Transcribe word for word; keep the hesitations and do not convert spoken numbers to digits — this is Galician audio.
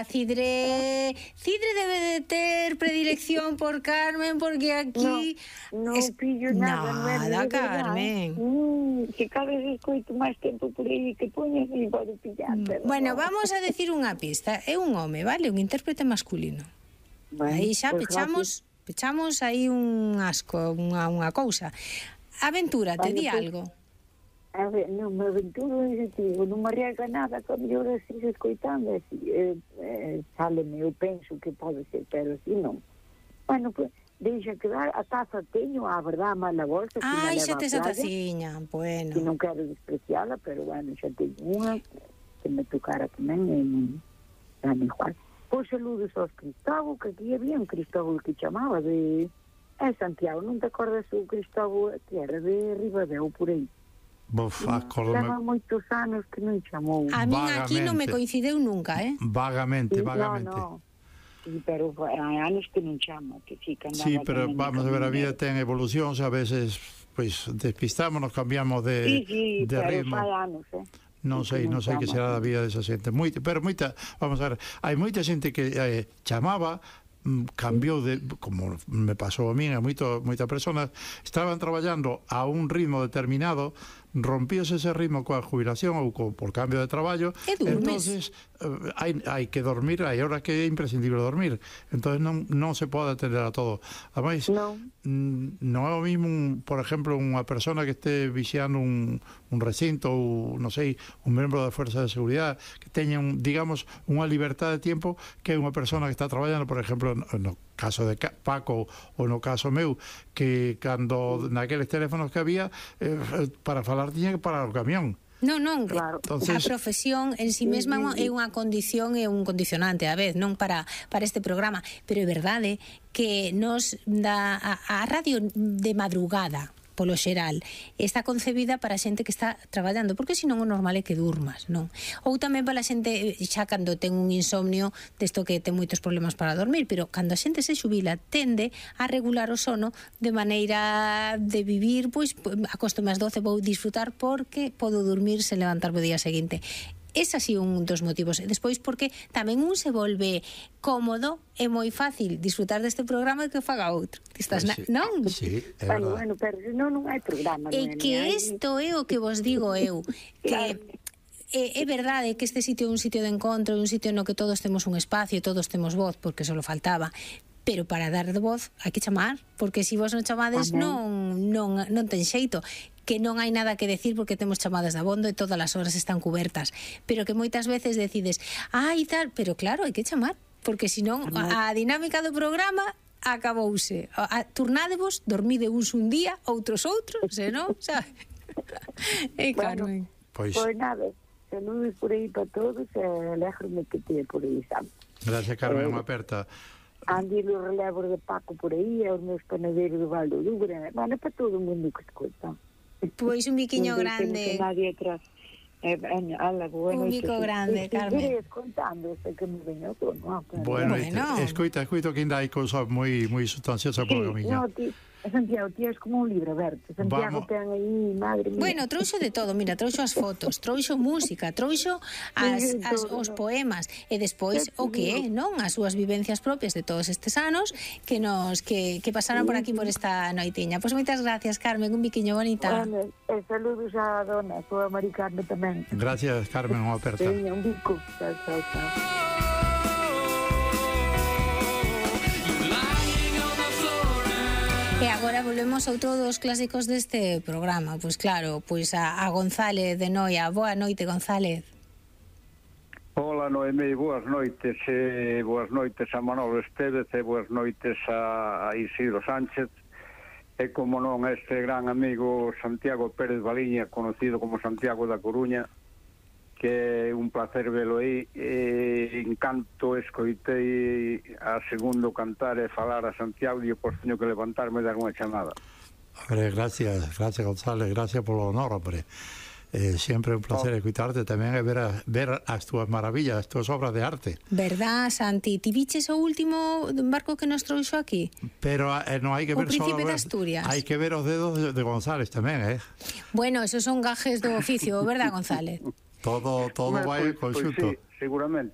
Cidre, Cidre debe de ter predilección por Carmen, porque aquí... No, no es... pillo nada. Nada, no Carmen. Mm, que cada vez escoito máis tempo por aí que poñes e pode pillar. Pero bueno, no. Vamos a decir unha pista. É un home, vale? Un intérprete masculino. Bueno, aí xa pues pechamos, gracias. pechamos aí un asco, unha, unha cousa. Aventúrate, vale, di pues... algo. A ver, non me aventuro en sentido, non me arriesga nada, que a mellor así se escoitando, así, eh, eh, sáleme, eu penso que pode ser, pero así non. Bueno, pues, deixa quedar, a taza teño, a verdad, má na bolsa, que Ai, xa tes a taciña, bueno. Que non quero despreciala, pero bueno, xa teño unha, que me tocara tamén, e non, xa me igual. Pois saludos aos Cristóbal, que aquí había un Cristóbal que chamaba de... É Santiago, non te acordas o Cristóbal, que era de Ribadeo, por aí? Buf, leva moitos anos que non chamou. A min aquí non me coincideu nunca, eh? Vagamente, sí, vagamente. No, no. Sí, pero hai anos que non chama, que sí, que sí, pero vamos a ver, a vida ten evolucións, a veces pois despistámonos, cambiamos de, sí, sí, de pero ritmo. Hai anos, eh? Non sei, non sei que será da vida desa xente. Moita, pero moita, vamos a ver, hai moita xente que eh, chamaba, cambiou de, como me pasou a min, a moito, moitas persoas estaban traballando a un ritmo determinado, rompíose ese ritmo coa jubilación ou co, por cambio de traballo, entonces eh, hai, hai que dormir, hai horas que é imprescindible dormir, entonces non, non se pode atender a todo. Ademais, non, non é o mismo, un, por exemplo, unha persona que este vixiando un, un recinto ou, non sei, un membro da Fuerza de Seguridade que teña, un, digamos, unha libertad de tiempo que unha persona que está traballando, por exemplo, no, no caso de Paco ou no caso meu, que cando naqueles teléfonos que había eh, para falar tiña que parar o camión. Non, non, claro. Entonces, a profesión en si sí mesma é unha condición e un condicionante a vez, non para para este programa, pero é verdade que nos dá a, a radio de madrugada polo xeral, está concebida para a xente que está traballando, porque senón o normal é que durmas, non? Ou tamén para a xente, xa cando ten un insomnio, desto que ten moitos problemas para dormir, pero cando a xente se xubila, tende a regular o sono de maneira de vivir, pois, acostome ás doce, vou disfrutar porque podo dormir sen levantarme o día seguinte. Ese así un dos motivos. Despois porque tamén un se volve cómodo, é moi fácil disfrutar deste programa que faga outro. Estás pues sí, na... non? Sí, é verdade. Bueno, bueno, pero non, non hai programa. E que isto é o que vos digo eu, que é, é verdade que este sitio é un sitio de encontro, un sitio no que todos temos un espacio, todos temos voz, porque só lo faltaba, pero para dar de voz hai que chamar, porque se si vos non chamades non, non, non ten xeito, que non hai nada que decir porque temos chamadas de abondo e todas as horas están cubertas, pero que moitas veces decides, ai tal, pero claro, hai que chamar, porque senón a, a dinámica do programa acabouse. A, a, turnádevos, dormide uns un día, outros outros, senón, sabe? E Carmen. Pois pues nada, saludos por aí para todos e alégrome que te por aí, sabe? Gracias, Carmen, unha aperta. Andi os relevos de Paco por aí, e os meus panadeiros do Val do Lubre, bueno, para todo o mundo que escuta. Pois un biquiño grande. Nadie atrás. Eh, ala, bueno, un bico grande, Carmen. Contando, que me veño todo, no, bueno, bueno. Escoita, escoito que ainda hai cousas moi moi sustanciosas por o miño. No, ti, Santiago, ti és como un libro aberto. Santiago ten aí, madre mía. Bueno, trouxo de todo, mira, trouxo as fotos, trouxo música, trouxo as, as, os poemas e despois o que é, non? As súas vivencias propias de todos estes anos que nos que, que pasaron por aquí por esta noitiña. Pois moitas gracias, Carmen, un biquiño bonita. Bueno, e saludos a dona, a súa Mari Carmen tamén. Gracias, Carmen, unha aperta. Sí, un bico. Chao, chao, chao. E agora volvemos a outro dos clásicos deste programa. Pois claro, pois a, a González de Noia. Boa noite, González. Hola, Noemí, boas noites. E boas noites a Manolo Estévez e boas noites a, a Isidro Sánchez. E como non, este gran amigo Santiago Pérez Baliña, conocido como Santiago da Coruña, que é un placer velo aí. E encanto escoitei a segundo cantar e falar a Santiago e pois teño que levantarme e dar unha chamada. Hombre, gracias, gracias González, gracias polo honor, hombre. Eh, sempre un placer oh. escuitarte tamén e ver, a, ver as túas maravillas, as túas obras de arte. Verdad, Santi? Ti viches o último barco que nos trouxo aquí? Pero eh, non hai que ver o Príncipe solo de Asturias. Hai que ver os dedos de, de González tamén, eh? Bueno, esos son gajes do oficio, verdad, González? Todo, todo vai en conxunto. Pues sí, seguramente.